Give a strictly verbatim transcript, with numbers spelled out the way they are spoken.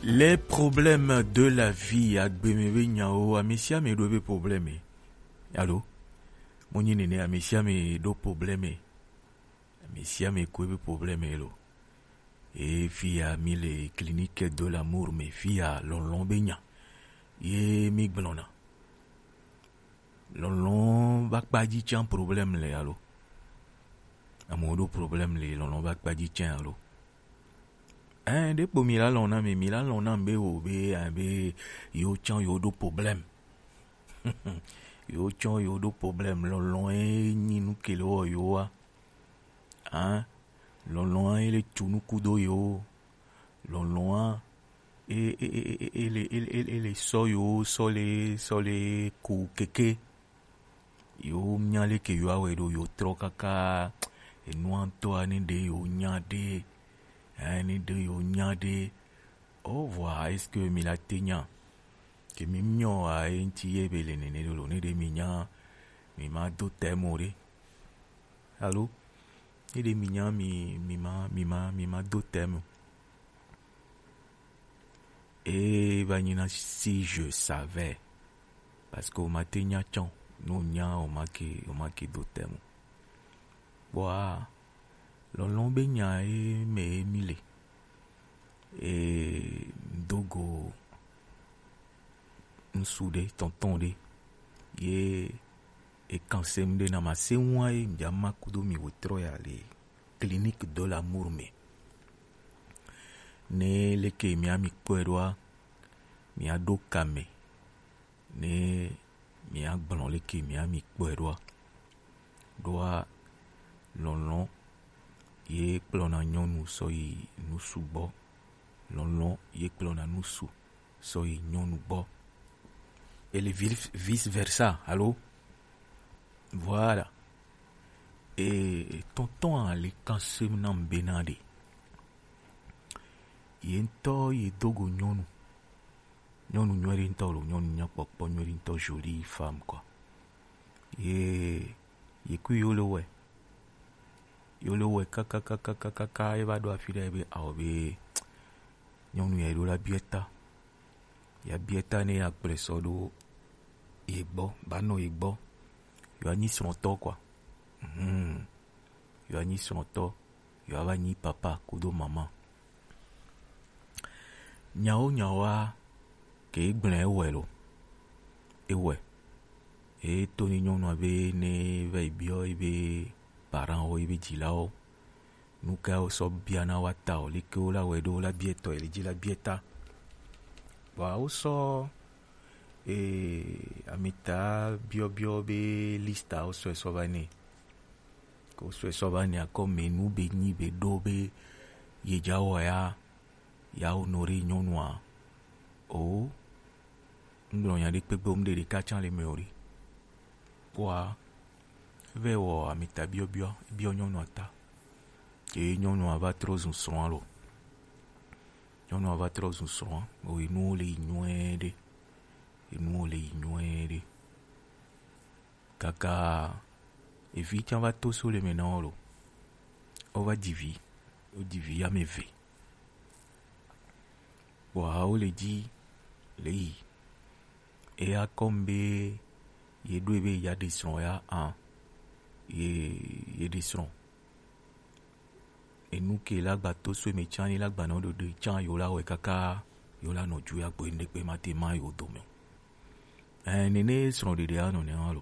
Les problèmes de la vie, agbeme be nyawo, amesiame ɖo ebe problème. Alo? Mo nyi nene, amesiame ɖo problème. Amesiame ko ebe problème lo. E fiya mi le clinique de l'amour me fiya lɔlɔ̃ be nya. Ye mi gblɔna. Lɔlɔ̃ ba kpadzi tsã problème le alo? Amewo ɖo problème le lɔlɔ̃ ba kpadzi tsã alo? Ɛn, ɖekpo mi la lɔ̃ na mi, mi la lɔ̃ na be wo be, ɛn, be yo tsã yo ɖo problème. Yo tsã yo ɖo problème, lɔlɔ̃ e nyi nu ke le wɔ yo wa. Ɛn, lɔlɔ̃ e le tsu nuku do yo. Lɔlɔ̃ e, e, e, e, e, e le, e, e, e le sɔ yo, sɔ le, sɔ le ku keke. Yo nya leke yo awɛ ɖo yo trɔ kaka enua ŋutɔa ne ɖe yo nya ɖe, eh, ne ɖe yo nya ɖe. Oh, vɔa, est-ce que mi la te nya? Ke mi nyɔ a e ŋuti ye be le nene ɖo lo, ne ɖe mi nya, mi ma do tɛmo ɖe. Alo? Ne ɖe mi nya mi, mi ma, mi ma, mi ma do tɛmo. E va nyi na si je savais. Parce que o ma te nya tsã o. No nya o ma ke, o ma ke do tɛmo. Bɔa, lɔlɔ̃ be nya e me e mi le. E dogo ŋsu ɖe, tɔntɔn ɖe. Ye e kan sem ɖe na ma se ŋua ye mi ma kudo mi wo trɔ ya le clinique de l'amour me. Ne leke mi ami kpɔe ɖoa, mi aɖo kame. Ne mi agblɔ leke mi ami kpɔe ɖoa, ɖoa lɔlɔ̃ ye kplɔna nyɔnu sɔ yi nusu gbɔ. Lɔlɔ̃ ye kplɔna nusu sɔ yi nyɔnu gbɔ. Et le vice, vice versa, alo? Voilà. Et tonton a le kan sem na m bena ɖe. Ye ŋutɔ ye dogo nyɔnu. Nyɔnu nyuie ɖe ŋutɔ lo, nyɔnu nyakpɔkpɔ nyuie ɖe ŋutɔ, jolie femme quoi. Ye, ye kui yo le wɛ. Yo le wɛ kakakakakaka, ye va ɖo afi ɖe be, awɔ be, nyɔnu ya ɖo la biɛ ta. Ya biɛ ta ne ya kplɔe sɔ ɖo ye gbɔ, ba nɔ ye gbɔ. Yo anyi srɔ̃tɔ quoi. Mhm. Yo anyi srɔ̃tɔ, yo ava nyi papa kudo mama. Nyawo nyawoa, ke gblẽ ewɔe lo. Ewɔe. E to ni nyɔnua be ne va yi biɔ ebe parent wo, ebe dzilawo. Nu ka wo sɔ bia na wa ta o, leke wo la wɛ ɖo la biɛ tɔ, ele dzi la biɛ ta. Vɔa wo sɔ, e, amita biɔbiɔ be lista wo sɔe sɔ va nɛ. Ko sɔe sɔ va nɛ akɔ me nu be nyi be ɖo be ye dza wɔ ya, ya wo nɔ ɖe nyɔnua. O, ŋgblɔ nya ɖe kpegbe wo mu ɖe ɖeka tsã le me o ɖe. Kpɔa, eve wɔ amita biɔbiɔ, biɔ nyɔnua ta. Ye nyɔnua va trɔ zu srɔ̃a lo. Nyɔnua va trɔ zu srɔ̃a, o enuwo le yi nyuie ɖe. Enuwo le yi nyuie ɖe. Kaka evi tsã va to so le me na wo lo. Wo va dzi vi. Wo dzi vi ame eve. Vɔa wo le dzi le yi. Eya kɔm be ye ɖo be ya ɖe srɔ̃ ya a. Ye, ye ɖe srɔ̃. Enu ke la gba to so me tsã ni la gba nɔ ɖoɖo tsã yo la wɛ kaka yo la nɔ ju ya gbo ŋɖe kpe ma te ma yo dome o. Ɛ, nene srɔ̃ɖeɖe anɔ ne hã lo.